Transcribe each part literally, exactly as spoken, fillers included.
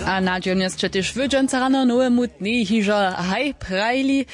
A nadźijomnje sće tež wy dźensa rano nowemu dnjej hižo haj prajili.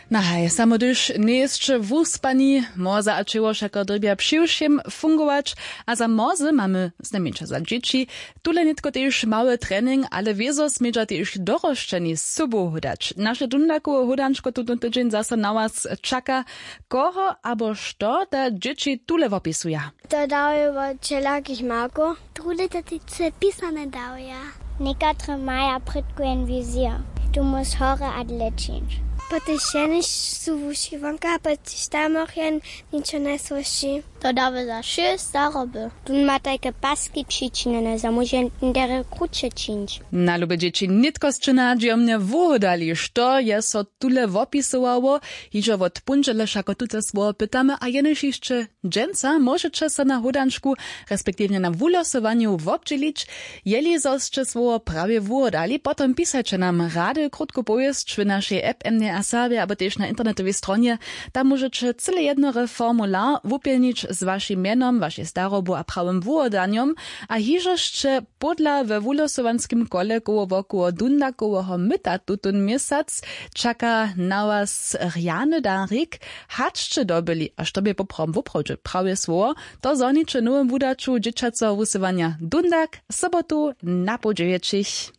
Na haj, samo hdyž njejsće wuspani, morza a ćěło wšako dyrbja přiwšěm fungować. A za morze mamy znajmjeńša za dźěći tule nětko tež mały trening, ale wězo smědźa tež dorosćeni sobu hódać. Naše dundakowe hódančko tutón tydźeń zaso na was čaka. Koho abo što da dźěći tule wopisuja? To dawjo wot wšelakich markow. Druhe to tež pisane dawja. Někatry maja prědko jen wizija, tu móž hory a dlěčińć. Potež jenož su wuši wonka, potež tam jen něčo najsłóžši. To dawy za wšě staroby. Tón ma tajke paski přičinjene, zo móže derje kruće čińć. Na lube dźěći, nětko sće nadźijomnje wuhódali, što je so tule wopisowało. Hižo wot póndźele wšako tute słowo pytamy a jenož hišće dźensa móžeće so na hódančku respektiwnje na wulosowanju wobdźělić. Jeli zo sće słowo prawje wuhódali, potom pisajće nam rady krótku powěsć w našej app M D R Serbje abo tež na internetowej stronje. Tam móžeće cyle jednore formular wupjelnić z wašim mjenom, wašej starobu a prawym wuhódanjom. A hižo sće pódla we wulosowanskim kole koło wokoło dundakoweho myta tutón měsac čaka na was rjany darik. Hač sće dobyli a što bě poprawom woprawdźe prawje słowo, to zhoniće w nowym wudaću dźěćaceho wusyłanja dundak sobotu na poł dźewjećich.